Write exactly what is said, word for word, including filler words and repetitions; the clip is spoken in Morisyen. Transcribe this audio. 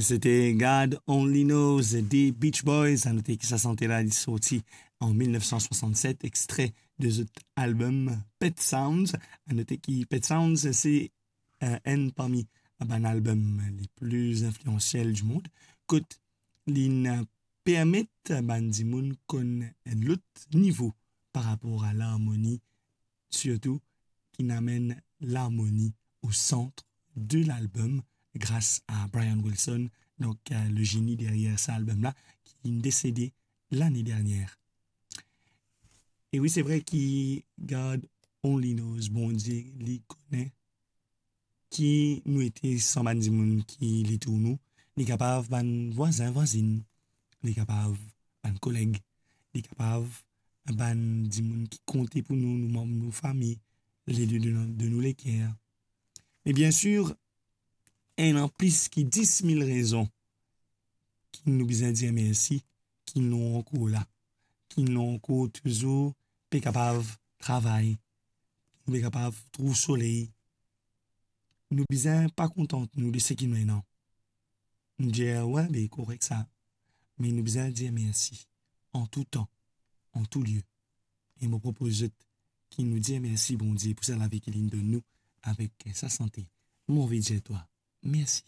Sete God Only Knows de Beach Boys. A note ki sa sante la, li sorti an mil nef san swasannset, extre de zot album Pet Sounds. A note ki Pet Sounds, se, eh, enn parmi bann album le pli infliansiel di mond, kot li permet bann dimoun konn enn lot nivo par rapor a larmoni, sirtou ki amenn larmoni o sant de lalbom gras a Brian Wilson, donk, eh, le zeni deryer sa albom la, ki desede lane dernier. E wi, se vre ki God Only Knows, Bondie, li kone ki nou ete san bann dimoun ki li tour nou. Li kapav bann vwazin, vwazinn, li kapav bann koleg, li kapav bann dimoun ki konte pou nou, nou manm nou fami, le de, de nou leker. Me biensir, ena plis ki dis mil rezon ki nou bizin dir mersi, ki nou ankor la, ki nou ankor touzour pe kapav travay, ki nou pe kapav trouv soley. Nou bizin pa kontant nou de seki nou ena. Nou dir, "Wi, be korek sa." Me nou bizin dir mersi an tou tan, an tou lie. E mo propoz zot ki nou dir mersi Bondie pou sa lavi ki li donn nou avek sa sante. Mo anvi dir twa, mersi.